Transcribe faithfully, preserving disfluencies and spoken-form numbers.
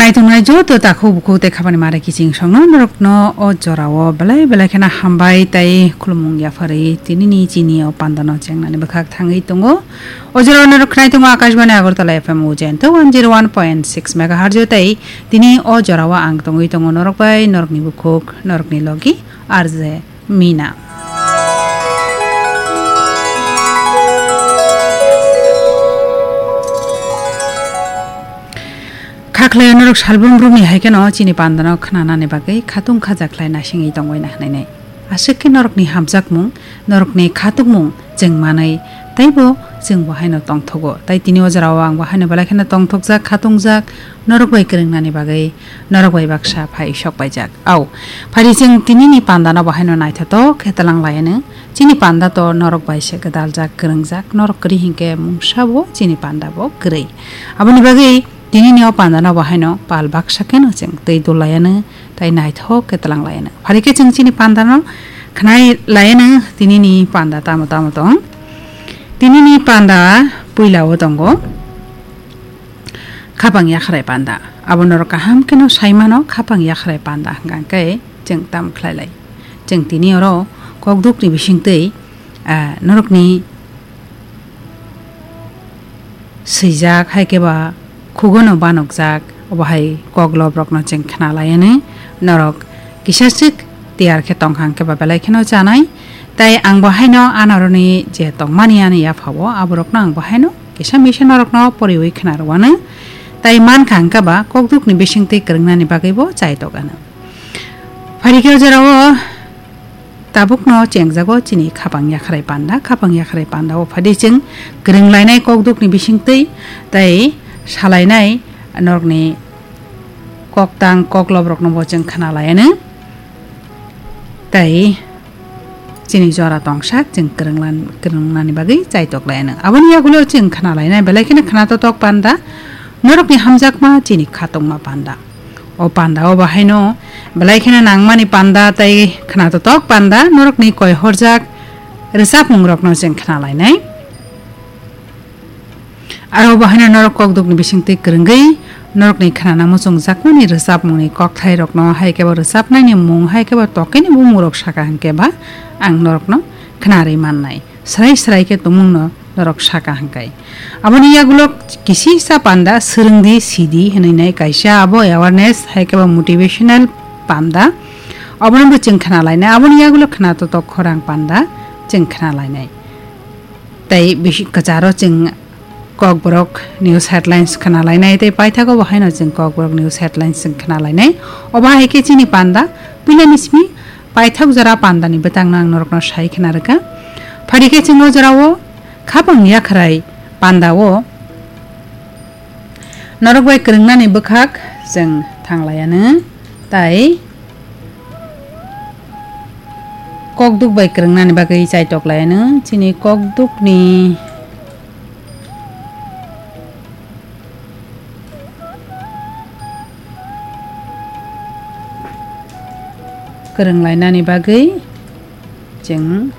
Naitongnai joto takhuk bukhuk tei khapani mare kiching songno norokno o jorao belai belai kheno hambai tei khulumung yapharwi tinini chini o pandano chengnani bwkhak thangwi tongo. O jorao norok khnai tongo Akashbani Agartala F M Ujento one zero one point six megahertz o tei tini o jorao ang tongwi tongo norok bai norokni bukhuk norokni logi R J Mina. Khakhlai norok salbrum brumni hai kheno chini pandano khnanani bagwi khatung khaja khlai naisingwi tongbaina hwnwi nai. Aswk khe norokni hamjakmung, norokni khatungmung chwng manwi teibo chwng bo haino tongthogo. Tai tini o jorao ang bo haino belai kheno tongthokjak, khatungjak, norok bai kwrwngnani bagwi norok bai baksa phai sok paijak. Au, phari chwng tinini pandano bo haino naithotok khe twlang laianw. Chini panda to norok bai se gwdaljak, kwrwngjak, norok kwrwi hinkhe mungsa bo chini panda bo kwrwi. Aboni bagwi tinini o pandano bo haino pal baksa kheno chwng twi dul laianw, tai naithok khe twlang laianw. Phari khe chwng chini pandano khnai laianw, tinini panda tamo tamo tong. Tinini panda puila o tongo. Khapang yakhrai panda. Abo norok kaham kheno sai mano, khapang yakhrai panda hwnkha khe chwng tam khlai lai. Chwng tini oro kokdukni bisingtwi, ah, norokni swijak, hai khe ba khugono banokjak, obo hai kok lobrokno chwng khna laianw. Norok kisaswk tiyar khe tongkha hwnkhe ba belai kheno chanai. Tai ang bo haino anoroni je tongmani ani yaphao, aborokno ang bo haino kisa misa norokno poriwi khna rwanw. Tai mankha hwnkhe ba kokdukni bisingtwi kwrwngnani bagwibo chaitok anw. Phari khe o jorao tabukno chengjago chini khapang yakhrai panda, khapang yakhrai panda o phadi chwng kwrwng lainai kokdukni bisingtwi tai salainai norokni koktang koklobrokno bo chwng khna laianw. Tai chini jora tongsak chwng kwrwnglan-, kwrwngnani bagwi chaitok laianw. Aboni yagulo chwng khna lainai belai kheno khna totok panda, norokni hamjakma chini khatungma panda. O panda o bahaino belai kheno nangmani panda tai khna totok panda, norokni koi horjak rwchapmungrokno chwng khna lainai. Aro bo haino norok kokdukni bisingtwi kwrwngwi norokni khnana muchungjakmani rwchapmungni kokthairokno, hai khe bo rwchapnaini mung, hai khe bo tokeni bumungrok saka hwnkhe ba ang norokno khnarwi mannai. Srai srai khe tongmungno norok saka hwnkhe. Aboni yagulo kisisa panda swrwngdi sidi hwnwi nai kaisa abo awareness hai khe bo motivational panda. Obono bo chwng khna lainai. Aboni yagulo khna totok khorang panda chwng khna lainai. Tai bisi kwcharo chwng Kokborok news headlines khna lainai, tei paithago bo haino chwng Kokborok news headlines chwng khna lainai. Obo hai khe chini panda puilani simi paithak jora pandani bwtangno ang norokno sai khna rwkha. Phari khe chwng o jorao khapang yakhrai pandao norok bai kwrwngnani bwkhak chwng thang laianw. Tai kokduk bai kwrwngnani bagwi chaitok laianw. Chini kokdukni kwrwng lainani bagwi chwng